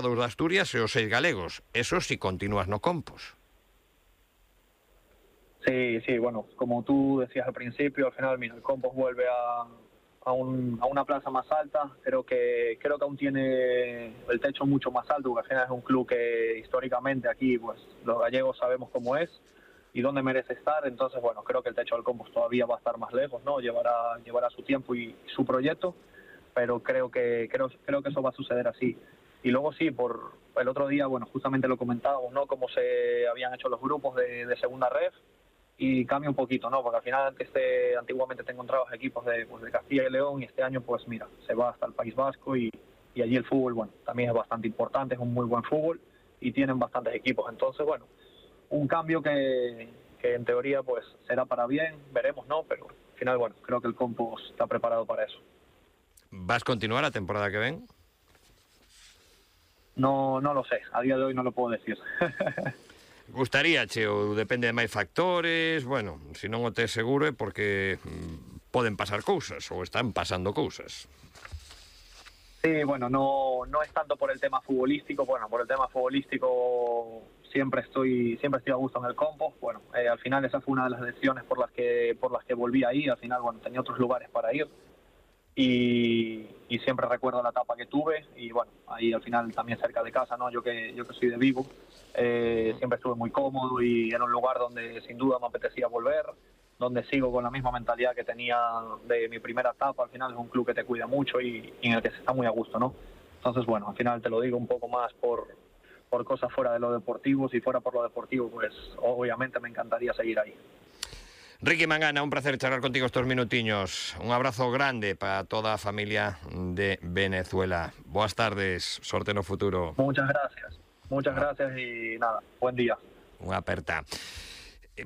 dos de Asturias e os 6 galegos. Eso si continúas no Compos. Sí, bueno, como tú decías al principio, al final, mira, el Compos vuelve a una plaza más alta. Creo que aún tiene el techo mucho más alto, porque al final es un club que históricamente aquí, pues los gallegos sabemos cómo es y dónde merece estar. Entonces, bueno, creo que el techo del Compos todavía va a estar más lejos, ¿no? Llevará su tiempo y su proyecto, pero creo que eso va a suceder así. Y luego sí, por el otro día, bueno, justamente lo comentábamos, ¿no? Cómo se habían hecho los grupos de segunda ref, y cambia un poquito, ¿no? Porque al final antiguamente te encontrabas equipos de Castilla y León, y este año, pues mira, se va hasta el País Vasco, y allí el fútbol, bueno, también es bastante importante, es un muy buen fútbol y tienen bastantes equipos. Entonces, bueno, un cambio que en teoría pues será para bien, veremos, ¿no? Pero al final, bueno, creo que el Compos está preparado para eso. Vas continuar a temporada que ven? No lo sé, a día de hoy no lo puedo decir. Gustaríache ou depende de máis factores? Bueno, se non o tes seguro é porque poden pasar cousas ou están pasando cousas. Sí, bueno, no es tanto por el tema futbolístico. Bueno, por el tema futbolístico siempre estoy a gusto en el Compos. Bueno, al final esa fue una de las decisiones por las que volví ahí. Al final, bueno, tenía otros lugares para ir. Y siempre recuerdo la etapa que tuve, y bueno, ahí al final también cerca de casa, ¿no? Yo que soy de Vigo, siempre estuve muy cómodo y era un lugar donde sin duda me apetecía volver, donde sigo con la misma mentalidad que tenía de mi primera etapa. Al final es un club que te cuida mucho y en el que se está muy a gusto, ¿no? Entonces, bueno, al final te lo digo un poco más por cosas fuera de lo deportivo. Si fuera por lo deportivo, pues obviamente me encantaría seguir ahí. Ricky Mangana, un placer charlar contigo estos minutiños. Un abrazo grande para toda a familia de Venezuela. Boas tardes, sorte no futuro. Muchas gracias y nada, buen día. Unha aperta.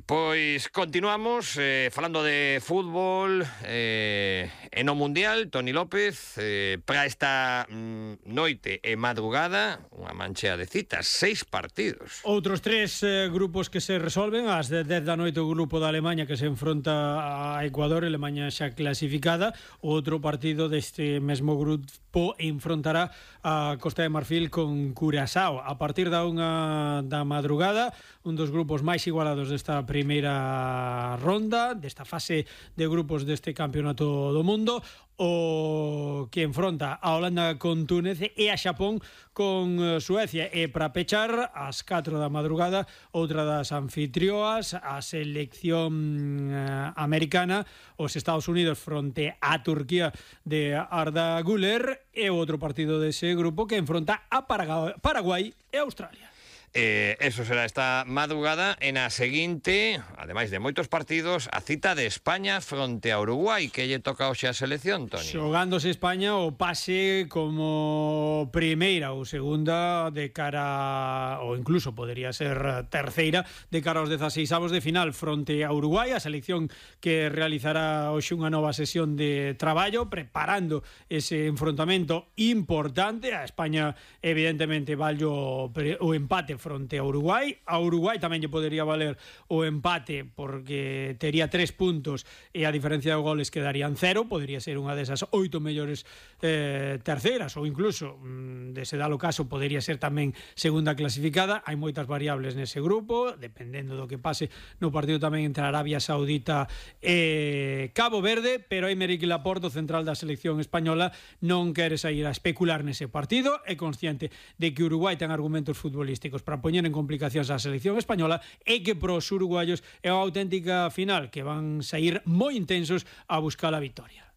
Pois continuamos falando de fútbol e no Mundial. Toni López, para esta noite e madrugada, unha manchea de citas, 6 partidos. Outros 3 grupos que se resolven. Ás 10 da noite o grupo da Alemanha que se enfronta a Ecuador, Alemanha xa clasificada. Outro partido deste mesmo grupo enfrontará a Costa de Marfil con Curazao. A partir da 1 da madrugada, un dos grupos máis igualados desta primeira ronda, desta fase de grupos deste campeonato do mundo, o que enfronta a Holanda con Túnez e a Xapón con Suecia. E para pechar, ás 4 da madrugada, outra das anfitrioas, a selección americana, os Estados Unidos fronte a Turquía de Arda Güler, e outro partido dese grupo que enfronta a Paraguai e Australia. Eso será esta madrugada. En a seguinte, ademais de moitos partidos, a cita de España fronte a Uruguai, que lle toca hoxe a selección, Toni. Xogándose España o pase como primeira ou segunda de cara, ou incluso podería ser terceira, de cara aos 16avos de final fronte a Uruguai, a selección que realizará hoxe unha nova sesión de traballo preparando ese enfrontamento importante. A España evidentemente vallo o empate fronte a Uruguai. A Uruguai tamén lle podería valer o empate porque tería 3 puntos e a diferencia de goles quedarían 0. Podería ser unha desas 8 mellores terceiras, ou incluso, de se dalo caso, podería ser tamén segunda clasificada. Hai moitas variables nese grupo, dependendo do que pase no partido tamén entre Arabia Saudita e Cabo Verde, pero Aymeric Laporte, o central da selección española, non quere sair a especular nese partido. É consciente de que Uruguai ten argumentos futbolísticos para poñer en complicacións a selección española, e que pros uruguayos é unha auténtica final que van sair moi intensos a buscar a victoria.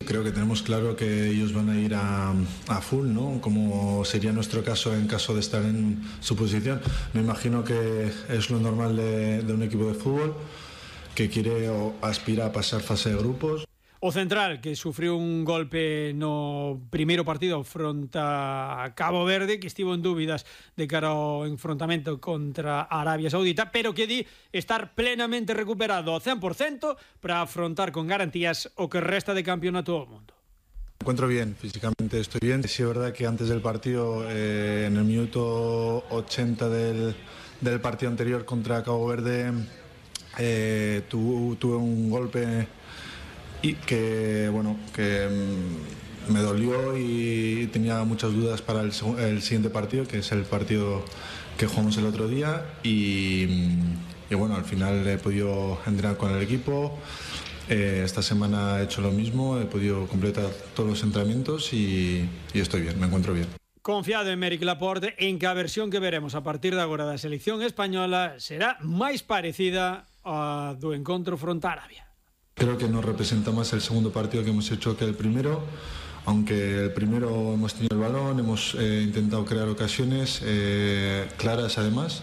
Creo que tenemos claro que ellos van a ir a full, ¿no? Como sería nuestro caso en caso de estar en su posición. Me imagino que es lo normal de un equipo de fútbol que quiere o aspira a pasar fase de grupos. O central, que sufriu un golpe no primeiro partido fronte a Cabo Verde, que estivo en dúbidas de cara ao enfrontamento contra Arabia Saudita, pero que di estar plenamente recuperado ao 100% para afrontar con garantías o que resta de campeonato do mundo. Me encuentro bien, físicamente estoy bien. Sí es verdad que antes del partido, en el minuto 80 del partido anterior contra Cabo Verde, tuve un golpe y que me dolió y tenía muchas dudas para el siguiente partido, que es el partido que jugamos el otro día, y bueno, al final he podido entrenar con el equipo. Esta semana he hecho lo mismo, he podido completar todos los entrenamientos y estoy bien, me encuentro bien. Confiado en Méric Laporte en que a versión que veremos a partir de agora da selección española será máis parecida a do encontro fronte a Arabia. Creo que nos representa más el segundo partido que hemos hecho que el primero, aunque el primero hemos tenido el balón, hemos intentado crear ocasiones claras además.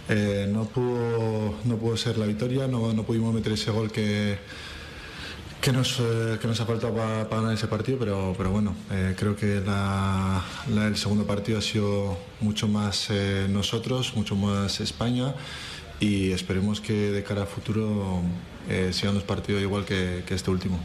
No pudo ser la victoria, no pudimos meter ese gol que nos ha faltado para ganar ese partido, pero bueno, creo que el segundo partido ha sido mucho más nosotros, mucho más España, y esperemos que de cara a futuro sigan los partidos igual que este último.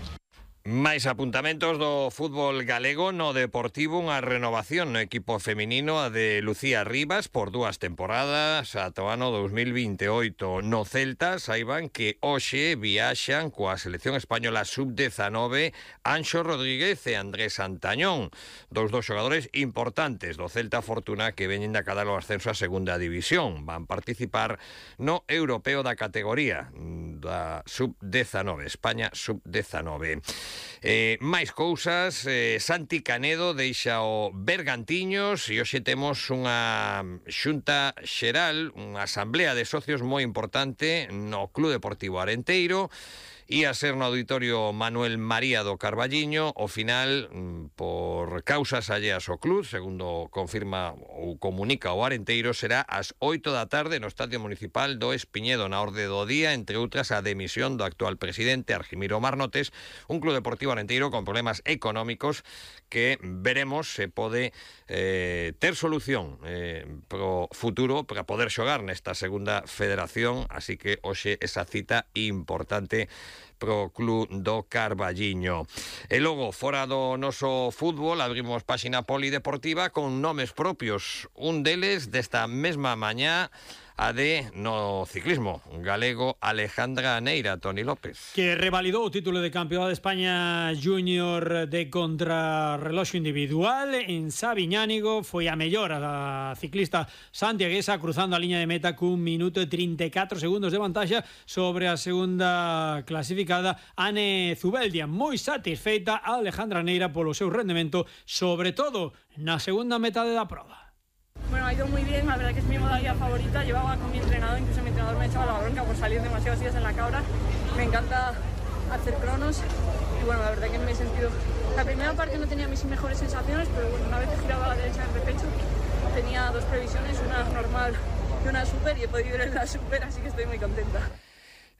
Máis apuntamentos do fútbol galego no Deportivo, unha renovación no equipo feminino, a de Lucía Rivas, por 2 temporadas ata o ano 2028. No Celta saiban que hoxe viaxan coa selección española sub-19 Anxo Rodríguez e Andrés Antañón, dos xogadores importantes do Celta Fortuna que veñen de acadar o ascenso a segunda división. Van participar no europeo da categoría da sub-19, España sub-19. Máis cousas, Santi Canedo deixa o Bergantiños e hoxe temos unha xunta xeral, unha asamblea de socios moi importante no Club Deportivo Arenteiro. Ia ser no Auditorio Manuel María do Carballiño. Ao final, por causas alleas ao club, segundo confirma ou comunica o Arenteiro, será ás 8 da tarde no Estadio Municipal do Espiñedo, na orde do día, entre outras a demisión do actual presidente Argimiro Marnotes, un Club Deportivo Arenteiro con problemas económicos que veremos se pode ter solución pro futuro para poder xogar nesta segunda federación, así que hoxe esa cita importante pro Club do Carballiño. E logo, fora do noso fútbol, abrimos páxina polideportiva con nomes propios. Un deles, desta mesma mañá, a de no ciclismo galego, Alejandra Neira, Toni López. Que revalidou o título de campeón de España júnior de contrarreloxo individual en Sabiñánigo. Foi a mellor a ciclista santiaguesa, cruzando a liña de meta cun minuto e 34 segundos de vantaxa sobre a segunda clasificada, Ane Zubeldia. Moi satisfeita a Alejandra Neira polo seu rendemento, sobre todo na segunda metade da proba. Bueno, ha ido muy bien, la verdad que es mi modalidad favorita. Llevaba con mi entrenador, incluso mi entrenador me echaba la bronca por salir demasiados días en la cabra. Me encanta hacer cronos y bueno, la verdad que me he sentido... La primera parte no tenía mis mejores sensaciones, pero bueno, una vez que giraba a la derecha del repecho tenía 2 previsiones, una normal y una super, y he podido ir en la super, así que estoy muy contenta.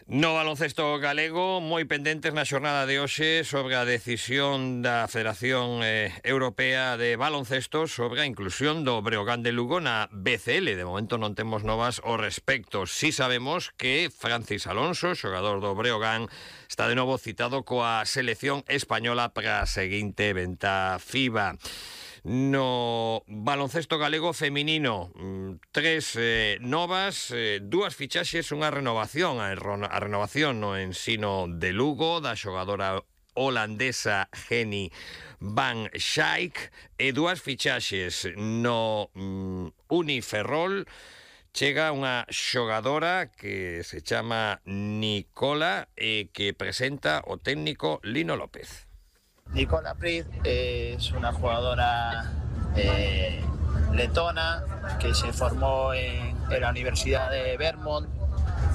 No baloncesto galego, moi pendentes na xornada de hoxe sobre a decisión da Federación Europea de Baloncesto sobre a inclusión do Breogán de Lugo na BCL. De momento non temos novas ao respecto. Si sabemos que Francis Alonso, xogador do Breogán, está de novo citado coa selección española para a seguinte venta FIBA. No baloncesto galego feminino, 3 novas, 2 fichaxes, unha renovación. A renovación no ensino de Lugo da xogadora holandesa Jenny Van Schaik, e 2 fichaxes no Uniferrol. Chega unha xogadora que se chama Nicola e que presenta o técnico Lino López. Nicola Pryt es una jugadora letona que se formó en la Universidad de Vermont.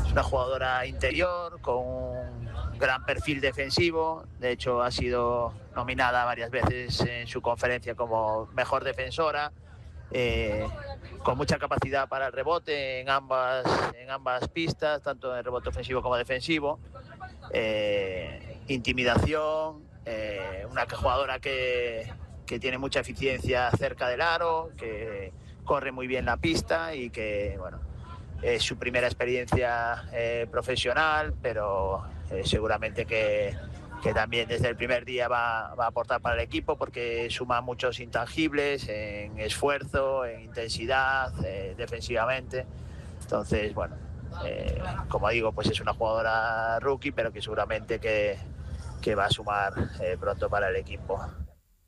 Es una jugadora interior con un gran perfil defensivo. De hecho, ha sido nominada varias veces en su conferencia como mejor defensora. Con mucha capacidad para el rebote en ambas pistas, tanto en el rebote ofensivo como defensivo. Intimidación. Una jugadora que tiene mucha eficiencia cerca del aro, que corre muy bien la pista y que, bueno, es su primera experiencia profesional, pero seguramente que también desde el primer día va a aportar para el equipo, porque suma muchos intangibles en esfuerzo, en intensidad, defensivamente. Entonces, bueno, como digo, pues es una jugadora rookie, pero que seguramente que va a sumar pronto para el equipo.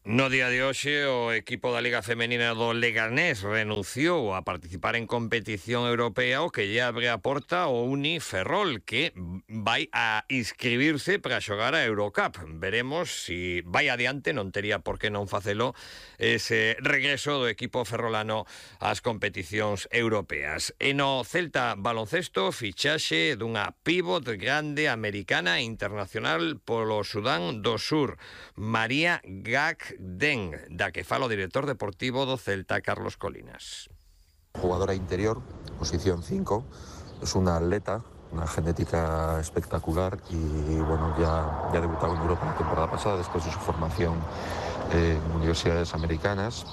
No día de hoxe, o equipo da Liga Femenina do Leganés renunciou a participar en competición europea, o que lle abre a porta o Uni Ferrol, que vai a inscribirse para xogar a Eurocup. Veremos si vai adiante, non tería por que non facelo, ese regreso do equipo ferrolano ás competicións europeas. E no Celta baloncesto, fichaxe dunha pívot grande americana e internacional polo Sudán do Sur, María Gak Den, da que fala o director deportivo do Celta, Carlos Colinas. Jugadora interior, posición 5, es una atleta, una genética espectacular y bueno, ya ha debutado en Europa la temporada pasada después de su formación en universidades americanas.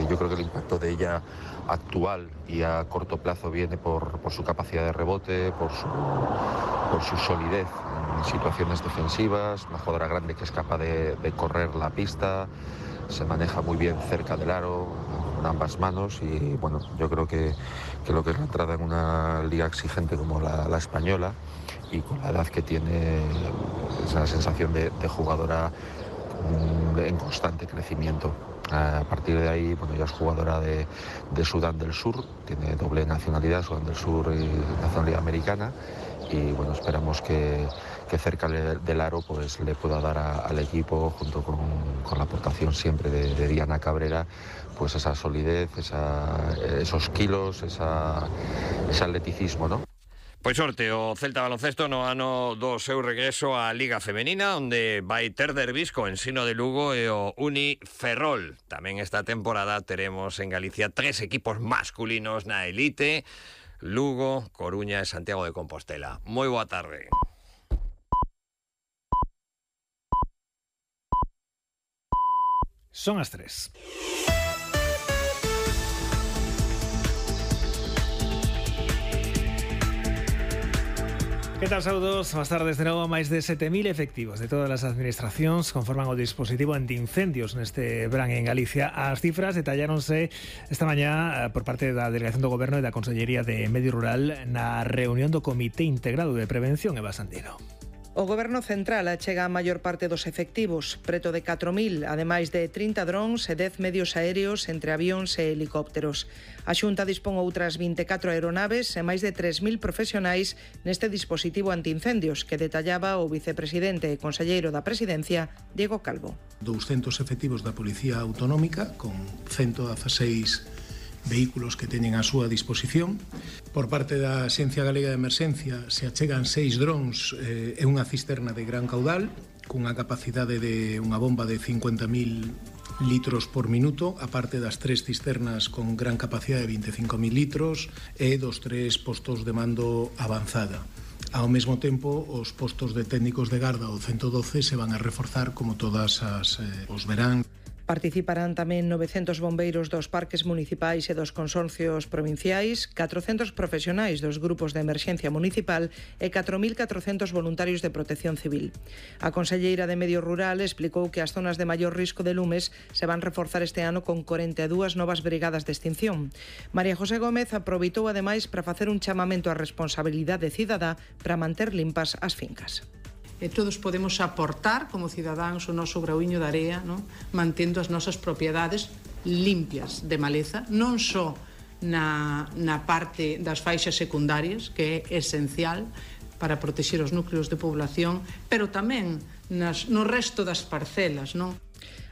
Yo creo que el impacto de ella actual y a corto plazo viene por su capacidad de rebote, por su solidez en situaciones defensivas, una jugadora grande que es capaz de correr la pista, se maneja muy bien cerca del aro, con ambas manos y bueno, yo creo que lo que es la entrada en una liga exigente como la española y con la edad que tiene, esa sensación de jugadora en constante crecimiento. A partir de ahí, bueno, ya es jugadora de Sudán del Sur, tiene doble nacionalidad, Sudán del Sur y nacionalidad americana, y bueno, esperamos que cerca del aro pues le pueda dar al equipo, junto con la aportación siempre de Diana Cabrera, pues esa solidez, esos kilos, ese atleticismo, ¿no? Pois sorte o Celta baloncesto no ano do seu regreso á Liga Femenina, onde vai ter derbis co Ensino de Lugo e o Uni Ferrol. Tamén esta temporada teremos en Galicia 3 equipos masculinos na elite: Lugo, Coruña e Santiago de Compostela. Moi boa tarde. Son as 3. Que tal, saúdos? Boas tardes de novo. Máis de 7.000 efectivos de todas as administracións conforman o dispositivo antiincendios neste verán en Galicia. As cifras detalláronse esta mañá por parte da Delegación do Goberno e da Consellería de Medio Rural na reunión do Comité Integrado de Prevención Eva Sandino. O Goberno Central achega a maior parte dos efectivos, preto de 4.000, ademais de 30 drons e 10 medios aéreos entre avións e helicópteros. A Xunta dispón outras 24 aeronaves e máis de 3.000 profesionais neste dispositivo antiincendios que detallaba o vicepresidente e conselleiro da Presidencia, Diego Calvo. 200 efectivos da Policía Autonómica con 116 vehículos que teñen a súa disposición. Por parte da Axencia Galega de Emerxencia se achegan 6 drons e unha cisterna de gran caudal cunha capacidade de unha bomba de 50.000 litros por minuto, aparte das 3 cisternas con gran capacidade de 25.000 litros e dos 3 postos de mando avanzada. Ao mesmo tempo, os postos de técnicos de garda do 112 se van a reforzar como todas os verán. Participarán tamén 900 bombeiros dos parques municipais e dos consorcios provinciais, 400 profesionais dos grupos de emerxencia municipal e 4.400 voluntarios de protección civil. A conselleira de Medio Rural explicou que as zonas de maior risco de lumes se van reforzar este ano con 42 novas brigadas de extinción. María José Gómez aproveitou ademais para facer un chamamento á responsabilidade cidadá para manter limpas as fincas. Todos podemos aportar como cidadáns o noso grauiño de area, non? Mantendo as nosas propiedades limpias de maleza, non só na parte das faixas secundarias, que é esencial para protexer os núcleos de población, pero tamén no resto das parcelas, non?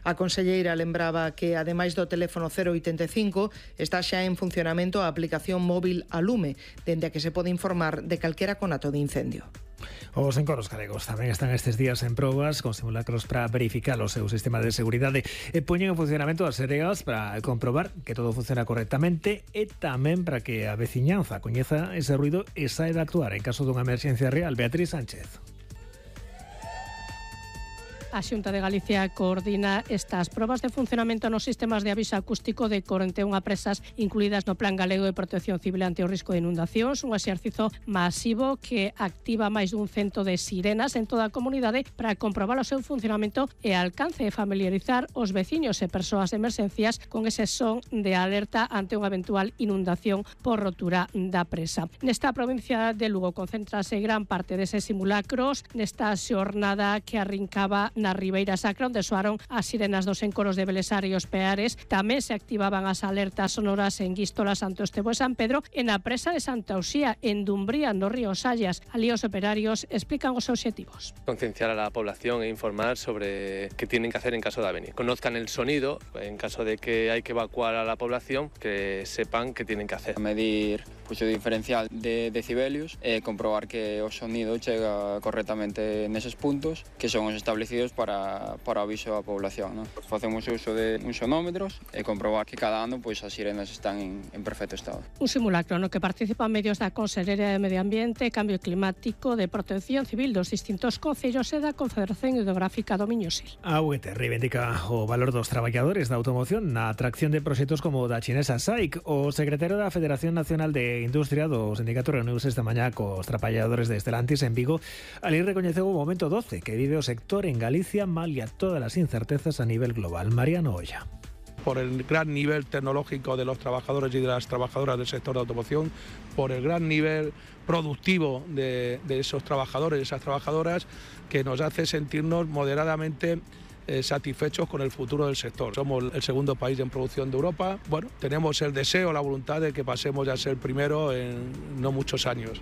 A conselleira lembraba que, ademais do teléfono 085, está xa en funcionamento a aplicación móvil a Lume, dende a que se pode informar de calquera conato de incendio. Os encoros galegos tamén están estes días en probas con simulacros para verificar o seu sistema de seguridade e poñen en funcionamento as sereas para comprobar que todo funciona correctamente e tamén para que a veciñanza coñeza ese ruido e saiba actuar en caso dunha emerxencia real. Beatriz Sánchez. A Xunta de Galicia coordina estas probas de funcionamento nos sistemas de aviso acústico de 41 presas incluídas no Plan Galego de Protección Civil ante o risco de inundacións, un exercizo masivo que activa máis dun 100 de sirenas en toda a comunidade para comprobar o seu funcionamento e alcance e familiarizar os veciños e persoas de emerxencias con ese son de alerta ante unha eventual inundación por rotura da presa. Nesta provincia de Lugo concéntrase gran parte deses simulacros nesta xornada que arrincaba na Ribeira Sacra, onde soaron as sirenas dos encoros de Belesar e os Peares. Tamén se activaban as alertas sonoras en Guístola, Santo Estevo e San Pedro, e na presa de Santa Uxía, en Dumbría, no río Sallas. Alí os operarios explican os obxectivos. Concienciar a la población e informar sobre qué tienen que hacer en caso de avería. Conozcan el sonido, en caso de que hay que evacuar a la población, que sepan qué tienen que hacer. Medir o diferencial de decibelios e comprobar que o sonido chega correctamente neses puntos que son os establecidos para aviso á población, ¿no? Facemos uso de uns sonómetros e comprobar que cada ano as sirenas están en perfecto estado. Un simulacro no que participan medios da Consellería de Medio Ambiente, Cambio Climático, de Protección Civil dos distintos concellos e da Confederación Hidrográfica do Miño-Sil. A UET reivindica o valor dos traballadores da automoción na atracción de proxectos como o da chinesa SAIC. O secretario da Federación Nacional de Industria do sindicato reuniuse esta mañá cos traballadores de Stellantis en Vigo. Ali recoñeceu o momento 12 que vive o sector en Galicia malia todas as incertezas a nivel global. Mariano Olla. Por el gran nivel tecnológico de los trabajadores y de las trabajadoras del sector de automoción, por el gran nivel productivo de esos trabajadores y esas trabajadoras, que nos hace sentirnos moderadamente satisfechos con el futuro del sector. Somos el segundo país en producción de Europa. Bueno, tenemos el deseo, la voluntad de que pasemos a ser primero en no muchos años.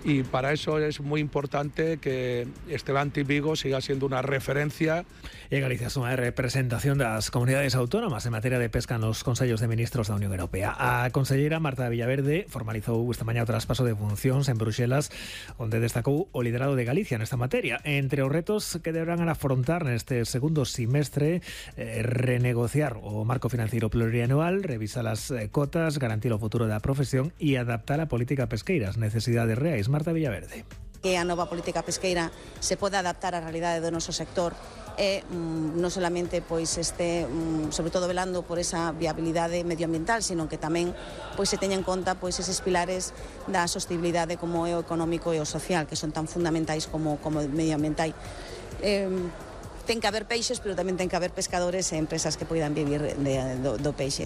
Y para eso es muy importante que Stellantis Vigo siga siendo una referencia. E Galicia suma a representación das comunidades autónomas en materia de pesca nos Consellos de Ministros da Unión Europea. A conselleira Marta Villaverde formalizou esta mañá o traspaso de funcións en Bruxelas, onde destacou o liderado de Galicia nesta materia. Entre os retos que deberán afrontar neste segundo semestre, renegociar o marco financiero plurianual, revisar as cotas, garantir o futuro da profesión e adaptar a política pesqueira ás necesidades reais. Marta Villaverde. Que a nova política pesqueira se poda adaptar á realidade do noso sector e non solamente sobre todo velando por esa viabilidade medioambiental, sino que tamén se teña en conta eses pilares da sostenibilidade como é o económico e o social, que son tan fundamentais como o medioambiental. Ten que haber peixes, pero tamén ten que haber pescadores e empresas que poidan vivir do peixe.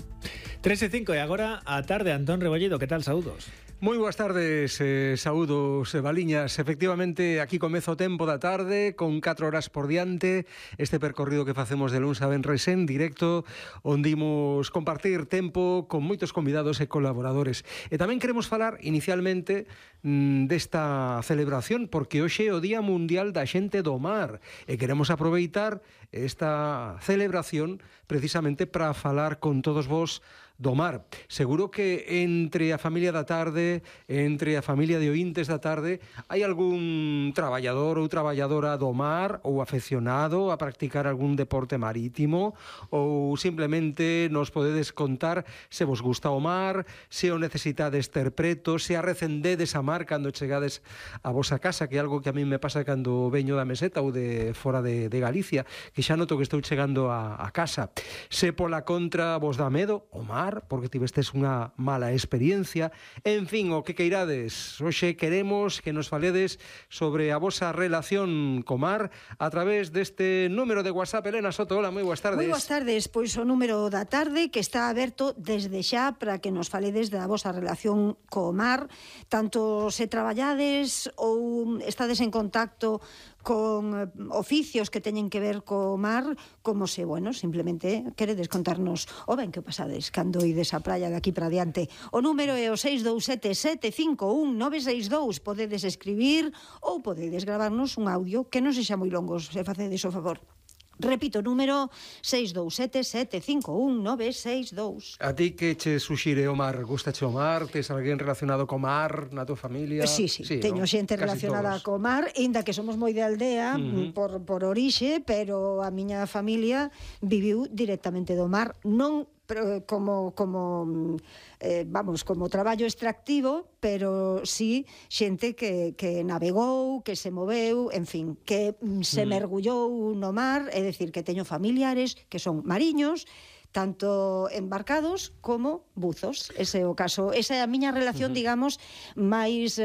3:05 e agora a tarde. Antón Rebollido, que tal? Saúdos. Moi boas tardes, saúdos, Baliñas. Efectivamente, aquí comezo o tempo da tarde con 4 horas por diante. Este percorrido que facemos de luns a venres en directo, onde imos compartir tempo con moitos convidados e colaboradores. E tamén queremos falar inicialmente desta celebración, porque hoxe é o Día Mundial da Xente do Mar e queremos aproveitar esta celebración precisamente para falar con todos vos do mar. Seguro que entre a familia da tarde, entre a familia de ointes da tarde, hai algún traballador ou traballadora do mar ou afeccionado a practicar algún deporte marítimo, ou simplemente nos podedes contar se vos gusta o mar, se o necesitades ter preto, se arrecendedes a mar cando chegades a vosa casa, que é algo que a mí me pasa cando veño da meseta ou de fora de Galicia, que xa noto que estou chegando a casa. Se pola contra vos dá medo o mar, porque tivestes unha mala experiencia, en fin, o que queirades. Hoxe queremos que nos faledes sobre a vosa relación co mar a través deste número de WhatsApp. Elena Soto, hola, moi boas tardes. Moi boas tardes, pois o número da tarde que está aberto desde xa para que nos faledes da vosa relación co mar, tanto se traballades ou estades en contacto con oficios que teñen que ver co mar, como se, simplemente queredes contarnos o ben que pasades cando ides á praia de aquí para diante. O número é o 627-751-962. Podedes escribir ou podedes gravarnos un audio que non sexa moi longo, se facedes o favor. Repito, número 627-751-962. A ti que che suxire o mar? Gustache o mar? Tes alguén relacionado co mar na tua familia? Sí, teño xente relacionada co mar, inda que somos moi de aldea, por orixe, pero a miña familia viviu directamente do mar, non como traballo extractivo, pero sí xente que navegou, que se moveu, en fin, que se mergullou no mar, é dicir, que teño familiares que son mariños, tanto embarcados como buzos. Ese é o caso. Esa é a miña relación, digamos, máis,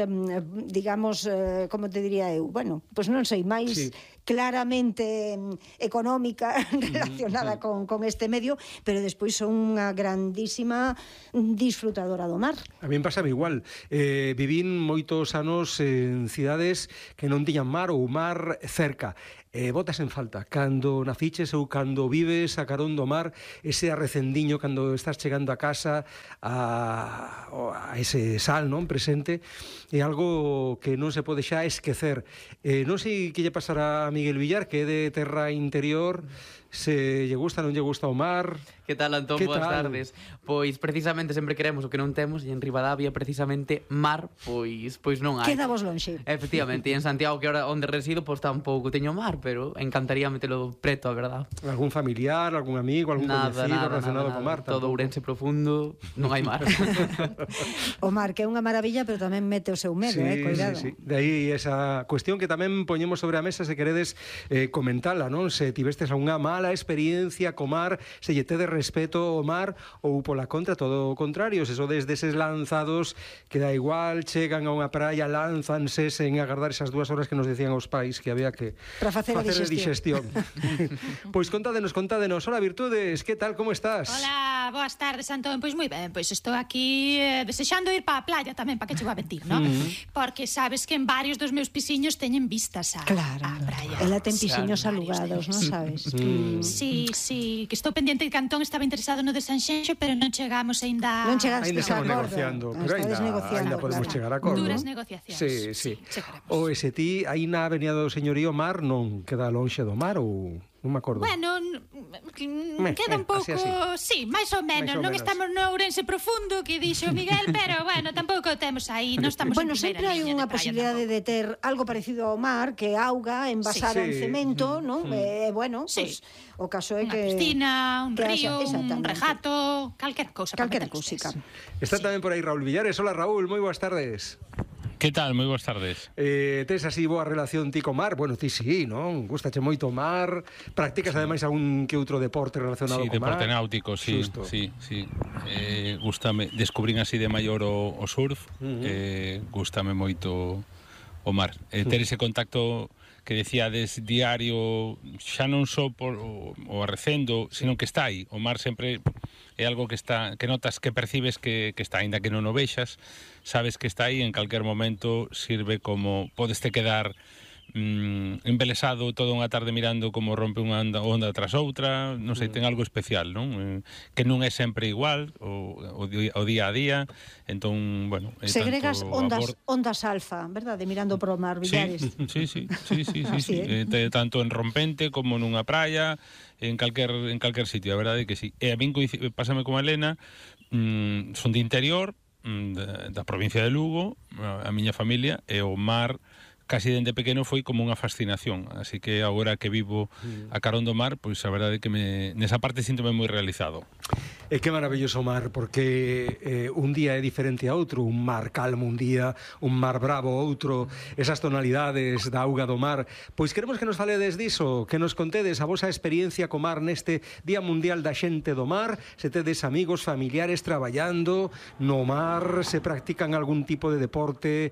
como te diría eu? Bueno, pois non sei, máis claramente económica relacionada con este medio, pero despois son unha grandísima disfrutadora do mar. A mí pasa igual. Vivín moitos anos en cidades que non tiñan mar ou mar cerca. botas en falta cando naciches ou cando vives a carón do mar, ese arrecendiño cando estás chegando a casa a ese sal, non, presente, é algo que non se pode xa esquecer. Non sei que lle pasará a Miguel Villar, que é de terra interior, se lle gusta, non lle gusta o mar. Que tal, Antón? Boas tardes. Pois precisamente sempre queremos o que non temos, e en Ribadavia precisamente mar, pois non hai. Queda vos lonxe. Efectivamente, e en Santiago, que ahora onde resido, pois tampouco teño mar, pero encantaría metelo preto, a verdad. Algún familiar, algún amigo, algún coñecido relacionado co mar? Todo Ourense profundo, non hai mar. O mar, que é unha maravilla, pero tamén mete o seu medo, cuidado. Sí. De aí esa cuestión que tamén poñemos sobre a mesa, se queredes comentala, non? Se tivestes unha mala experiencia co mar, se lle tedes respeto ao mar, ou pola contra, todo o contrario, se sodes deses lanzados que da igual, chegan a unha praia, lánzanse sen agardar esas 2 horas que nos decían os pais que había que para facer a digestión. Pois contádenos. Hola, Virtudes, que tal, como estás? Hola, boas tardes, Antón. Pois moi ben, pois estou aquí desexando ir para a playa tamén, para que che vou a mentir, non? Porque sabes que en varios dos meus pisiños teñen vistas a praia. Ela ten pisiños alugados, non sabes? Sí, que estou pendiente de que Antón estaba interesado no de Sanxenxo, pero non chegamos aínda... Non chegaste a acordo. Negociando, pero aínda podemos chegar a acordo. Duras negociacións. Sí. O ese ti, aí na Avenida do Señorío Mar non queda lonxe do mar ou... Non me acordo. Bueno, queda un pouco... Sí, máis ou menos. Non estamos no Ourense profundo, que dixo Miguel, pero, bueno, tampouco temos aí. Non estamos bueno, sempre hai unha posibilidade de ter algo parecido ao mar, que é auga envasada en cemento, non? Bueno, pues, o caso é que... Unha piscina, un río, un regato, calquera cousa. Calquera cousica. Está tamén por aí Raúl Villares. Hola, Raúl, moi boas tardes. Que tal? Moi boas tardes. Tes así boa relación ti co mar? Bueno, ti sí, non? Gustache moito o mar. Practicas ademais algún que outro deporte relacionado co mar? Sí, deporte náutico, sí. Gústame, descubrín así de maior o surf. Gústame moito o mar. Ter ese contacto que decíades diario, xa non só por o arrecendo, sino que está aí. O mar sempre é algo que está, que notas, que percibes que está, aínda que non o vexas, sabes que está aí, en calquer momento sirve como, podeste quedar embelesado toda unha tarde mirando como rompe unha onda tras outra, non sei, ten algo especial, non? Que non é sempre igual o día a día, entón, bueno, segregas ondas alfa, verdade? Mirando pro mar, Villares. Sí. Tanto en rompente como nunha praia, en calquer sitio, a verdade que sí. E a min pásame como a Elena, son de interior, da provincia de Lugo, a miña familia, e o mar casi dende pequeno foi como unha fascinación, así que agora que vivo a carón do mar, pois a verdade que nesa parte síntome moi realizado. E que maravilloso o mar, porque un día é diferente a outro, un mar calmo un día, un mar bravo outro, esas tonalidades da auga do mar. Pois queremos que nos faledes diso, que nos contedes a vosa experiencia co mar neste Día Mundial da Xente do Mar, se tedes amigos, familiares traballando no mar, se practican algún tipo de deporte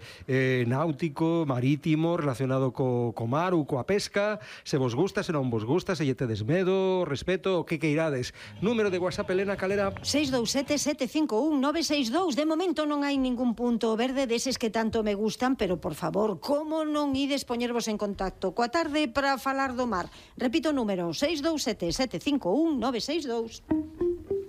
náutico, marítimo, relacionado co mar ou coa pesca, se vos gusta, se non vos gusta, se lle tedes medo, respeto, o que queirades. Número de WhatsApp, Elena, calera? 627-751-962. De momento non hai ningún punto verde deses que tanto me gustan, pero por favor, como non ides poñervos en contacto coa tarde para falar do mar? Repito o número, 627-751-962.